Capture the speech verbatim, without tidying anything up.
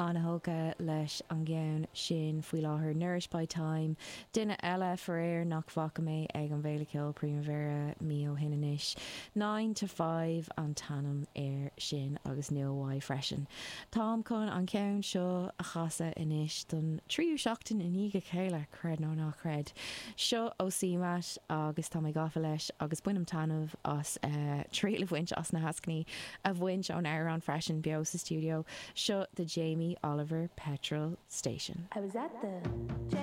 An-tógtha leis an gceann sin faoi láthair Nourished by Time, duine eile faraor nach bhfaca mé ag an bhFéile Ceoil Primavera mí ó shin anois. Nine to five an t-ainm air sin agus nua uaidh freisin. Táim chun an ceann seo a chasadh anois don tríú seachtain i ndiaidh a chéile creid nó ná creid. Seo ó CMAT agus tá mé gafa leis agus bainim taitneamh as uh, triail a bhaint as na heascainí a bhaint ón amhrán freisin beo sa studio seo the Jamie Oliver Petrol Station. I was at the